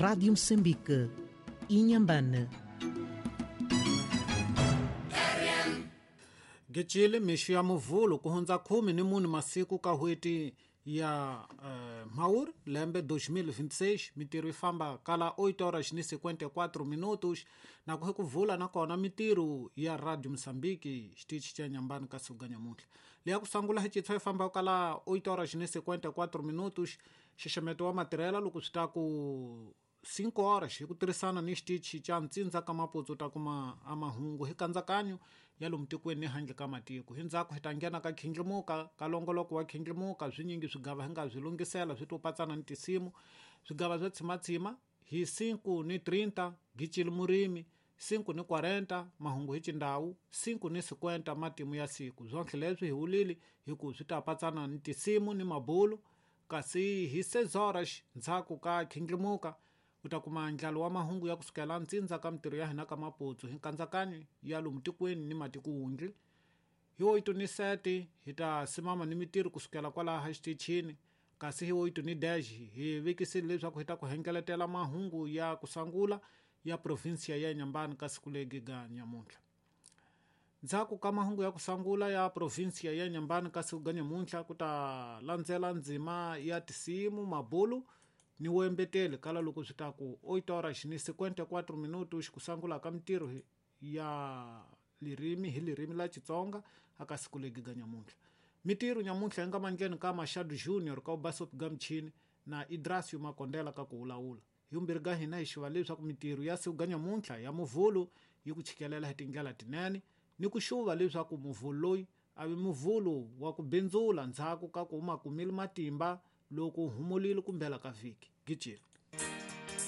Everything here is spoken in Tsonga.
Rádio Moçambique, Inhambane. Gecile mixo ya muvhulo ku hundza 14 masiku ka n'hweti ya Mhawuri lembe 2026 mitirho yi famba kala 8 horas ni 54 minutos na ku ku vula nakona mitirho ya Radio Mozambique xitichi xa Nyambani ka siku ga nyamuntlha leya ku sungula hi chitshwa yi famba kala 8 horas ni 54 minutos xixemeto wa matirhela loko swi ta ku 5 horas hi ku tirhisana ni xitichi xa ntsindza ka maputsu ta kuma a mahungu hi kandzakanyo ya lomu tikweni ni handle ka matiko hi ndzhaku hi ta nghena ka khindlimuka ka longoloko wa khindlimuka swinyingi swigava hi nga swi lunghisela swi to patsana ni tinsimu swigava swo tshimatshima hi 5 ni 30 gicile murimi 5 ni 40 mahungu hi xindhawu 5 ni 50 matimu ya siku swonhle leswi hi wulile hi ku swi ta patsana ni tinsimu ni mabulu kasi hi 6 horas ndzhaku ka khindlimuka u ta kuma ndlalo wa mahungu ya kusukela ntsindza ka mitirho ya hina ka maputsu hi nkandzakanyo ya lomu tikweni ni matiko wundli hi 8 ni 7 hi ta simama ni mitirho kusukela kwalaha xitichini kasi hi 8 ni dash hi vekisile leswaku hi ta ku hengeletela mahungu ya kusangula ya provinsia ya Nyambani ka siku legi ga nyamuntlha ndzhaku ka mahungu ya kusangula ya provinsia ya Nyambani ka siku ga nyamuntlha ku ta landzela ndzima ya tinsimu mabulu ni wembeteli kala loko swi ta ku 8 horas ni 54 minutos kusangula ka mitirho ya lirimi hi lirimi la Xitsonga aka siku legi ga nyamuntlha mitirho nyamuntlha yi nga mandleni ka Machado Junior ka Ubasop ga Mchini na Idrasio Makondela ka ku wulawula hi vumbirhi ga hina hi xiva leswaku mitirho ya siku ga nyamuntlha ya muvhulu yi ku chikelela hi tindlela tinene ni ku xuva leswaku muvhulu loyi a vi muvhulu wa ku bindzula ndzhaku ka ku uma kumile matimba loko humulile kumbela ka vhiki gicile.